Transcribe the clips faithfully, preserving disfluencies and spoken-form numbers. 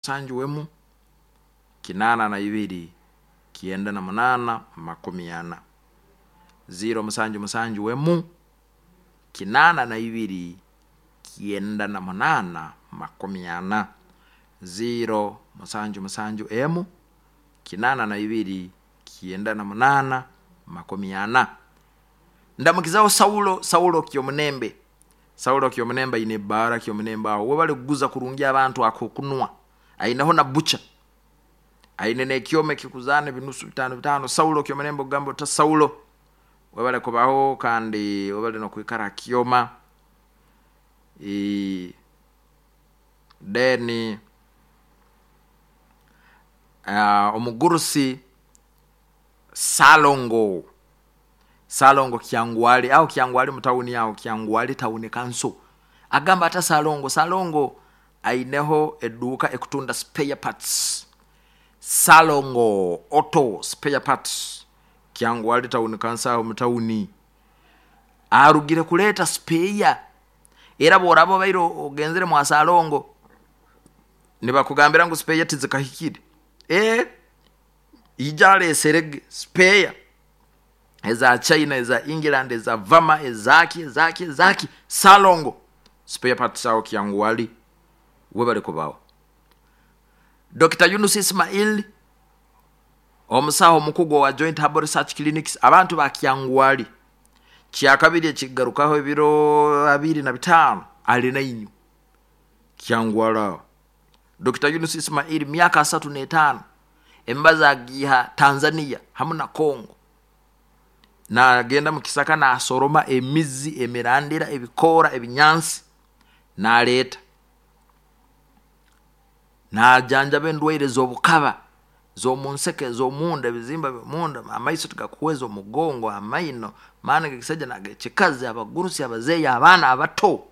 Musanju emu kinaana na ibiri kyenda na munaana makumi ana, ziro musanju musanju emu kinaana na ibiri kyenda na munaana makumi ana, ziro musanju musanju emu kinaana na ibiri kyenda na munaana makumi ana. Ndamukizaho Saulo, Saulo Kyomunembe, Saulo Kyomunembe aine ebbaara Kyomunembe aho. Webale kuguza kurungi abantu akokunwa, aineho na butcher, aine n'ekyoma ekikuzaana ebinusu bitaano bitaano. Saulo Kyomunembe, ogamba ota Saulo? Webale kubaho kandi webale n'okwikara ha kyoma. Then uh, omugurusi Salongo, Salongo Kyangwali, aho Kyangwali mu tawuni, aho Kyangwali Town Council. Agamba ata Salongo? Salongo aineho eduuka ekutunda spare parts, Salongo Auto Spare Parts, Kyangwali Town Council, aho mu tawuni. Arugire kuleeta spare, era bworaba obaire ogenzere mwa Salongo nibakugambira ngu spare tizikahikire, ee ija aleserege spare eza China, eza England, eza Vama, ezaki, ezaki, ezaki. Salongo Spare Parts aho Kyangwali, webale kubaho. Doctor Yunus Ismail, omusaho omukugu wa Joint Herbal Research Clinics, abantu ba Kyangwali, kyakabiri ekigarukaho ebiro abiri na bitaano ali nainywe Kyangwali aho. Doctor Yunus Ismail, myaka asatu n'etaano, emibazi agiiha Tanzania hamu na Congo. Nagenda mu kisaka nasoroma emizi, emirandira, ebikoora, ebinyansi, naleeta, najanjaba endwaire z'obukaba, z'omunseke, ez'omunda, ebizimba by'omunda, amaiso tigakuhweza, omugongo, amaino, maani g'ekisaija n'ag'ekikazi, abagurusi, abazeeyi, abaana abato.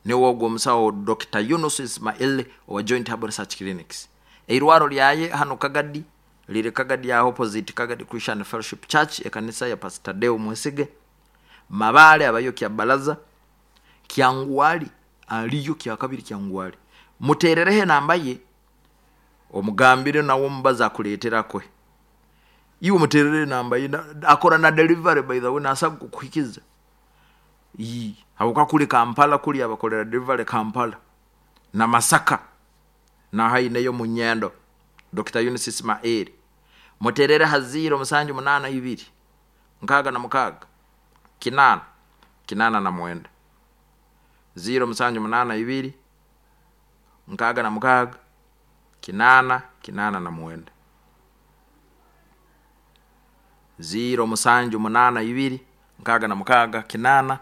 Niwe ogwo omusawo Doctor Yunus Ismail owa Joint Herbal Research Clinics. Eirwaro lyaye hanu Kagadi, liri Kagadi aho opposite Kagadi Christian Fellowship Church, ekanisa ya Pastor Deo Mwesige. Mabale abayo kya balaza, Kyangwali aliyo kyakabiri Kyangwali. Muterereho enamba ye, omugambire nawe omubazi akuleetera kwe. Iwe muterere enamba ye, akora na delivery, by the way, nasaga kukuhikiza. Ii, habwokuba kuli Kampala, kuli abakolera delivery Kampala na Masaka, naho aineyo Munyendo. Doctor Yunus Ismail, muterere ha ziro musanju munaana ibiri nkaaga na mukaaga kinaana kinaana na mwenda, ziro musanju munaana ibiri nkaaga na mukaaga kinaana kinaana na mwenda, ziro musanju munaana ibiri nkaaga na mukaaga kinaana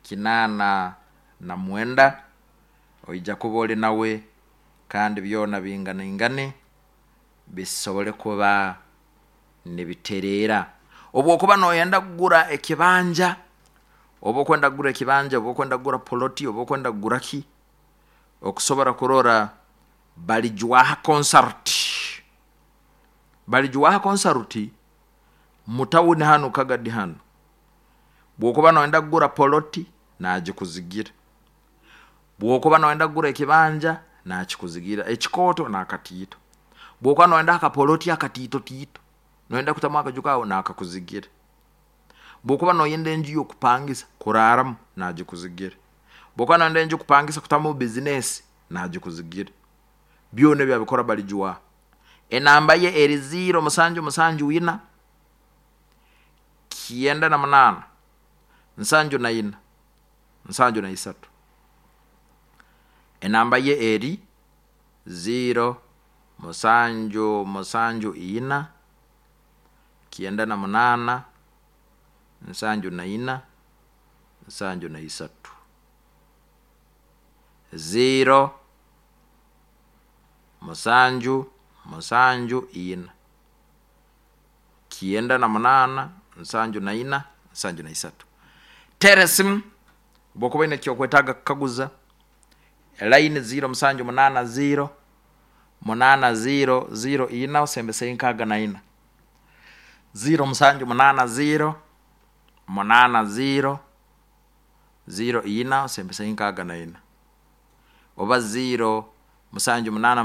kinaana na mwenda. Oija kuba oli nawe kandi byona binganaingane bisobole kuba nibitereera. Obwokuba noyenda kugura ekibanja, oba okwenda kugura ekibanja, oba okwenda kugura poloti, oba okwenda kugura ki, okusobora kurora Balijwaha Consult, Balijwaha Consult mu tawuni hanu Kagadi hanu. Bwokuba noyenda kugura poloti, nagikuzigira. Bwokuba noyenda kugura ekibanja, nakikuzigira, ekikooto n'akatiito. Bwokuba noyenda akapoloti akatiito tiito, noyenda kutamu akaju kawe, nakakuzigira. Bwokuba noyenda enju y'okupangisa kuraaramu, nagikuzigira. Bwokuba noyenda enju kupangisa kutamu bizinesi, nagikuzigira. Byona ebi abikora Balijwaha. Enamba ye eri ziro musanju musanju ina kyenda na munaana nsanju na ina nsanju na isatu. Enamba ye eri ziro musanju musanju ina kyenda na munaana nsanju na ina nsanju na isatu, ziro musanju musanju ina kyenda na munaana nsanju na ina nsanju na isatu. Tera esimu bwokuba oine ekyokwetaaga kukaguza. Line ziro musanju munaana ziro munaana ziro ziro ina osembeseyo nkaaga na ina, ziro musanju munaana ziro munaana ziro ziro ina osembeseyo nkaaga na ina, oba ziro Musanju, munaana.